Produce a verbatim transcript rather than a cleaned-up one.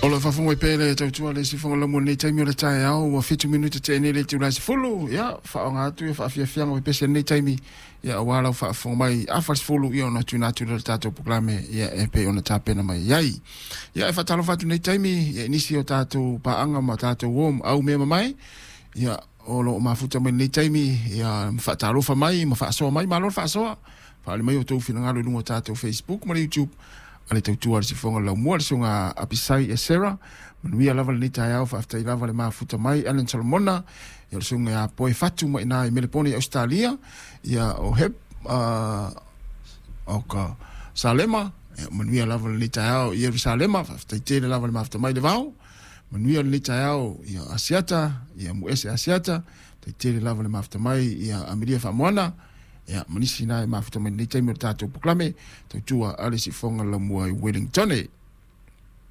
O lo o faafofoga mai pea le tautua le sifoga lamu lenei taimi o le taeao ua fitu minute tea nei le itula e sefulu. Ia faaaoga atu ia faafiafiaga o pese lenei taimi ia aua lau faafofoga mai afa le sefulu ia ona tuuina atu lea o le tatou polokalame ia e pei ona tapena mai ai. Ia e faatalofa atu lenei taimi ia i nisi o tatou paaga ma tatou uo ma au mea mamae ia o lo o mafuta mai lenei taimi ia ma faatalofa mai ma faasoa mai. Malo le faasoa, faaali mai o outou finagalo i luga o tatou Facebook ma le YouTube a le tautua a le sifoga laumua le susuga Apisai Esera. Manuia lava lenei taeao, faafetai lava le mafuta mai. Alan Solomona, ia o le susuga ia Poe Fatu mai ina i Melepone i Ausetalia, ia o Hep uh, o ka Salema, ia, manuia lava lenei taeao i Ierusalema, faafetai tele lava le mafuta mai le vao. Manuia lenei taeao ia Asiata, ia Muese Asiata, faafetai tele lava le mafuta mai ia Amelia Faamoana, ia ma nisi na e mafuta mai lenei taimi o le tatou polokalame tautua a le sifoga laumua i Wellington.